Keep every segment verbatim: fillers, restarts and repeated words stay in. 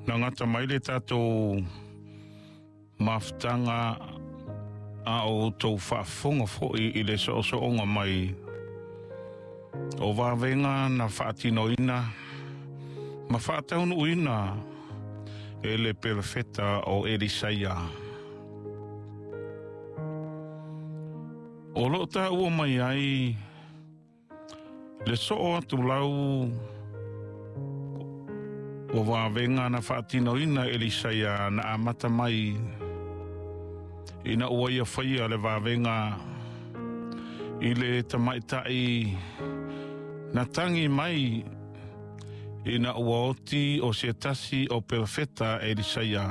Na gata mai le tatou mafutaga a o outou faafofoga foi i le soosooga mai o vavega na faatinoina ma faataunuuina e le perofeta o Elisaia. O loo taua mai ai le soo atu lau o vavega na faatinoina Elisaia na amata mai ina ua ia faia le vavega i le tamaitai na tagi mai ina ua oti o se tasi o perofeta Elisaia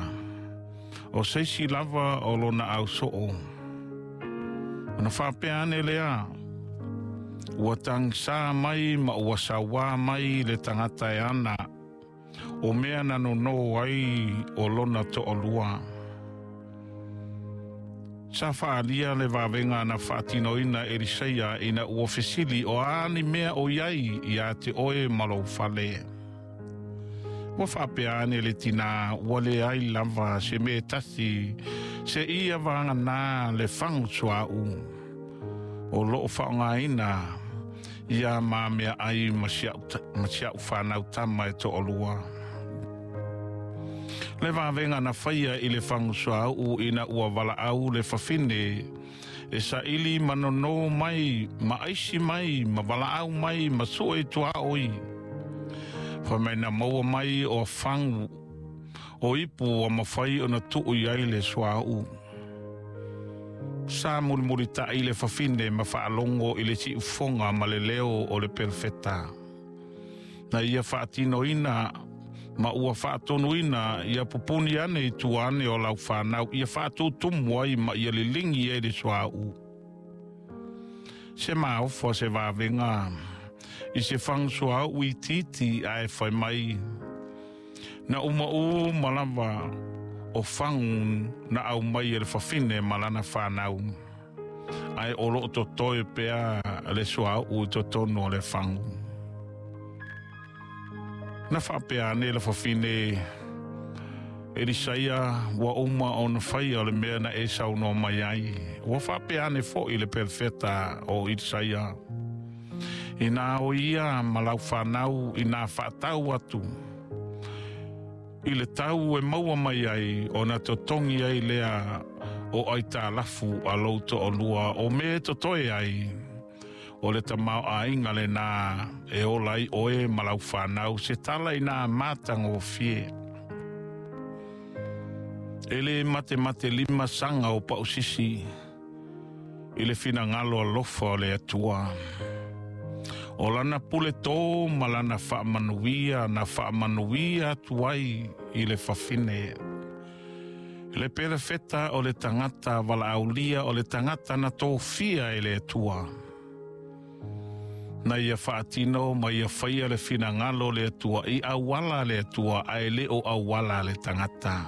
o seisi lava o lona ausoo. Ona faapea ane lea, ua tagisa mai ma ua sauā mai le tagata e ana o mea na nono ai o lona toalua. Sa faaalia le vavega na faatinoina Elisaia ina ua fesili o a ni mea o iai ia te oe ma lou fale. Ua faapea ane le tinā ua leai lava se mea e tasi se ia vagana le fagu suauu o loo faaaogaina ia ma meaai ma si a'u fanau tama e toalua. Le vavega na faia i le fagu suauu ina ua valaau le fafine e saili ma nono mai ma aisi mai ma valaau mai ma sue tuaoi. Fai mai na maua mai o fagu o ipu ua mafai ona tuu i ai le suauu. Sa mulimulita'i le fafine ma faalogo i le siufoga ma le leo o le perofeta. Na ia faatinoina ma ua faatonuina ia pupuni ane i tua ane o lau fanau ia faatutumu ai ma ia liligi ai le suauu. Se maofa se vavega i se fagu suauu itiiti ae fai mai na uma uma lava o fagu na aumai e le fafine ma lana fanau ae o loo totoe pea le suauu i totonu o le fagu. Na faapea ane le fafine Elisaia ua uma ona faia o le mea na e saunoa mai ai. Ua faapea ane foi le perofeta o Elisaia ina o ia ma lau fanau ina faatau atu i le tau e maua mai ai ona totogi ai lea o aitalafu a lou toalua o mea e totoe ai o le tamaoaiga lenā e ola ai oe ma lau fanau se tala ina matagofie. E le matematelima saga o pausisi i le finagalo alofa o le Atua. O lana pule tō ma lana faamanuia na faamanuia atu ai i le fafine. Le perofeta o le tagata valaaulia o le tagata na tofia e le Atua. Na ia faatino ma ia faia le finagalo o le Atua i auala le Atua ae le o auala le tagata.